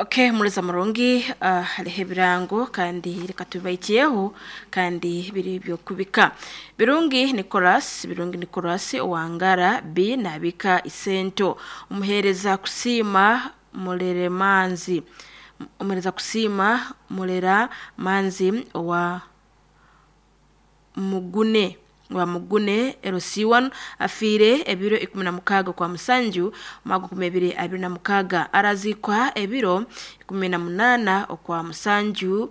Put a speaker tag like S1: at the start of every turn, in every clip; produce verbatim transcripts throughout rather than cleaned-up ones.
S1: Okay, muliza murungi, uh, hariho ebirango kandi reka tubibaikyeho kandi biri byokubika. Birungi Nicholas, Birungi Nicholas owangara B nabika isento. Omuheereza kusiima Muleremanzi. Omuheereza kusiima Mulera Manzi owa Mugune wa Mugune L C one afiire ebiro ikumi na mukaaga kwa musanju omwaka nkumi ibiri abiri na mukaaga, araziikwa ebiro ikumi na munaana okwa musanju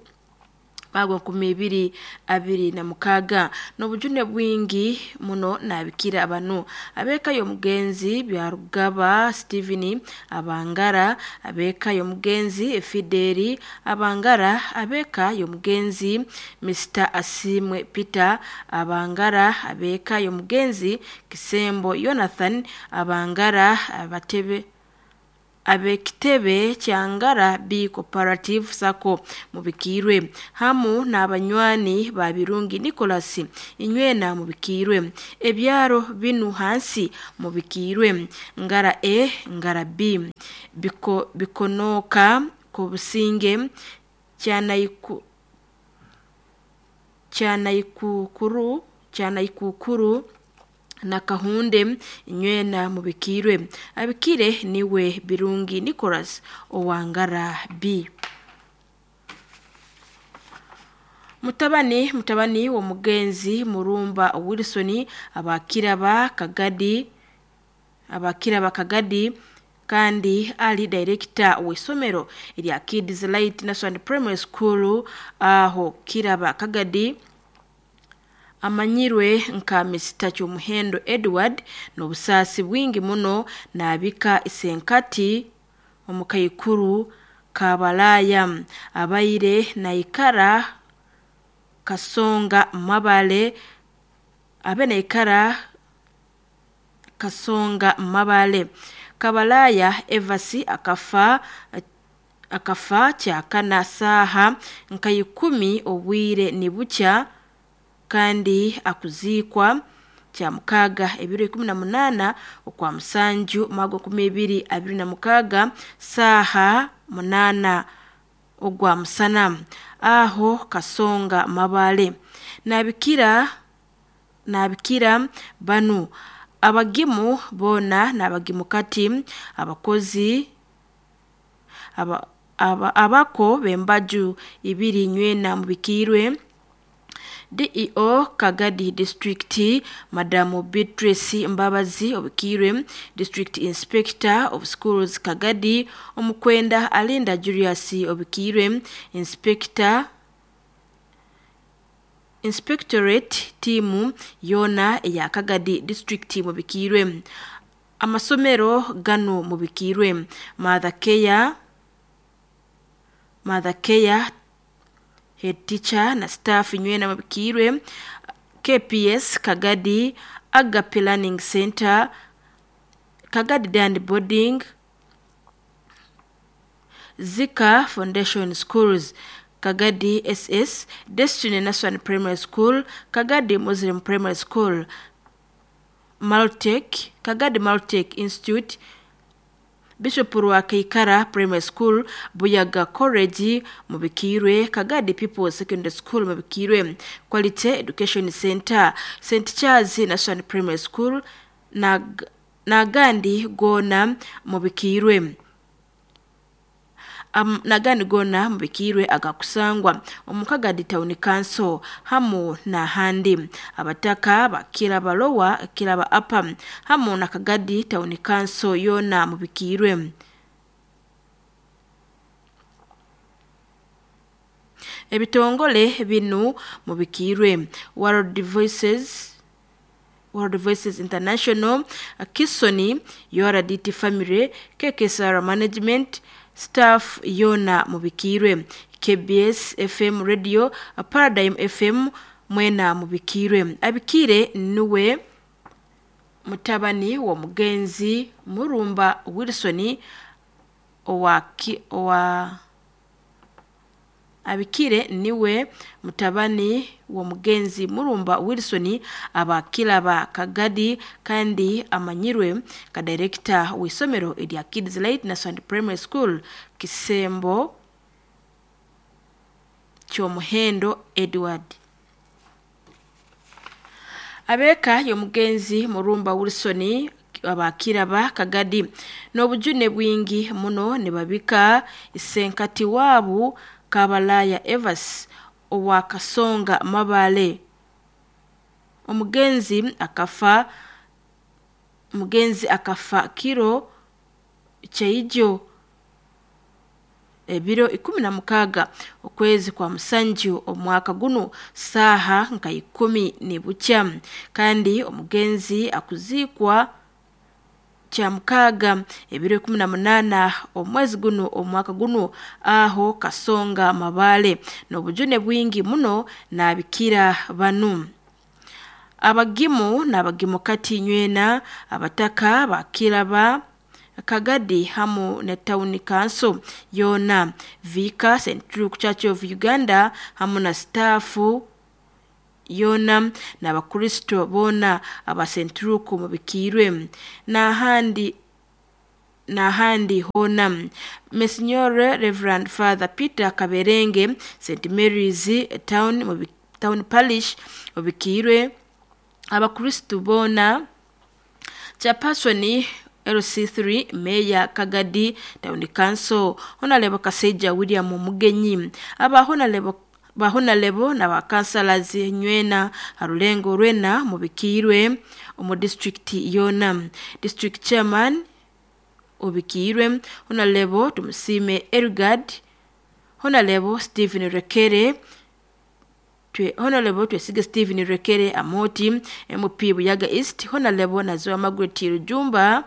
S1: omwaka nkumi ibiri abiri na mukaaga. N'obujune bwingi muno nabikira banu ab'eka y'omugenzi Byarugaba Stephen Abangara, ab'eka y'omugenzi Fideli Abangara, ab'eka y'omugenzi Mister Asimwe Peter Abangara, ab'eka y'omugenzi Kisembo Jonathan Abangara, abatebe ab'ekitebe kya Ngara B Cooperative Sacco mubikiirwe, hamu n'abanywani ba Birungi Nicholas inywena mubikiirwe. Ebyaro binu hansi mubikiirwe: Ngara A, Ngara B, Biko, Bikonoka Kobusinge, Kyanaiku Kyanaikukuru Kyanaikukuru na Kahunde inywena mubikiirwe. Abikire niwe Birungi Nicholas owangara B. Mutabani mutabani w'omugenzi Murumba Wilson abakiraba Kagadi abakiraba Kagadi kandi ali director w'isomero erya Kids Light National Primary School aho Kiraba Kagadi, amanyirwe nka Mister Kyomuhendo Edward, n'obusaasi bwingi muno nabika isenkati omukaikuru Kabalaya abaire naikara Kasonga Mabale abe naikara Kasonga Mabale. Kabalaya Evasi akafa akafa kyakana saaha nka ikumi obwire nibukya kandi akuziikwa kya mukaaga ebiro ikumi na munaana okwa musanju omwaka nkumi ibiri abiri na mukaaga saaha munaana ogwa musana aho Kasonga Mabale. Nabikira nabikira banu abagimu boona n'abagimu kati abakozi aba, aba, abako b'embaju ibiri nywena mubikiirwe. D E O Kagadi District Madamu Beatrice Mbabazi obikiirwe, District Inspector of Schools Kagadi Omukwenda Alinda Julius obikiirwe, Inspector Inspectorate tiimu yoona eya Kagadi District mubikiirwe. Amasomero ganu mubikiirwe: Mother Care Mother Care head teacher na staff nywena mubikiirwe, K P S Kagadi, Agape Learning Center, Kagadi Dan Boarding, Zika Foundation Schools, Kagadi S S, Destiny National Primary School, Kagadi Muslim Primary School, Maltech, Kagadi Maltech Institute, Bishop Rwakeikara Primary School, Buyaga College mubikiirwe, Kagadi People's Secondary School mubikiirwe, Quality Education Center, Saint Charles National Primary School na n'agandi goona mubikiirwe. Um, n'agandi goona mubikiirwe agakusangwa omu Kagadi Town Council hamu n'ahandi. Abataka bakiraba Lower, kiraba Upper hamu na Kagadi Town Council yoona mubikiirwe. Ebitongole binu mubikiirwe: World Voices World Voices International, Kisoni, U R D T Family, K K S R Management, staff yona mubikiirwe, K B S F M Radio, Paradigm F M mwena mubikiirwe. Abikire nuwe mutabani wa mugenzi Murumba Wilson owa owa Abikire niwe mutabani w'omugenzi Murumba Wilson abakiraba Kagadi kandi amanyirwe ka director w'isomero erya Kids Light National Primary School Kisembo Kyomuhendo Edward. Abeka y'omugenzi Murumba Wilson abakiraba Kagadi n'obujune bwingi muno nibabika isenkati wabu Kabalaya Evas owa Kasonga Mabale. Omugenzi akafa omugenzi akafa kiro kyaijo ebiro ikumi na mukaga okwezi kwa musanju omwaka guno saha nka ikumi nibukya, kandi omugenzi akuzikwa kya mukaga ebiro ikumi na munana omwezi guno omwaka guno aho Kasonga Mabale n'obujune bwingi muno nabikira banu. Abagimu n'abagimu kati nywena abataka bakiraba Kagadi hamu ne town council yona Vika Central Church of Uganda hamu na stafu yona n'abakristo bona aba Central mubikirwe n'ahandi n'ahandi hona. Monsignor Reverend Father Peter Kaberenge Saint Mary's Town mubi, Town Parish mubikirwe abakristo bona. Chairperson L C three Mayor Kagadi Town Council Honorable Kaseja William Mugenyi aba Honorable bahonalebo na bakansalazi nywena harulengo rwena mubikirwe omu district yona. District chairman obikirwe Honorable Tumusime Ergad, Honorable Stephen Rekere twe Honorable Twesige Stephen Rekere Amoti M P Buyaga East, Honorable Nazoa Margaret Rujumba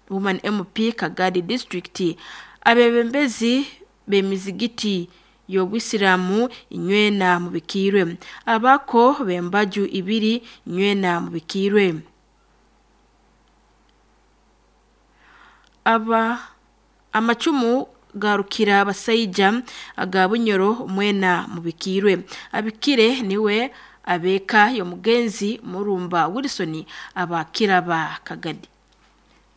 S1: Woman M P Kagadi District. Abebembezi b'emizigiti y'obusiramu inywena mubikirwe abako bembaju ibiri inywena mubikirwe aba amacumu garukira abasaija aga Bunyoro mwena mubikirwe. Abikire niwe abeka y'omugenzi Murumba Wilson abakiraba Kagadi.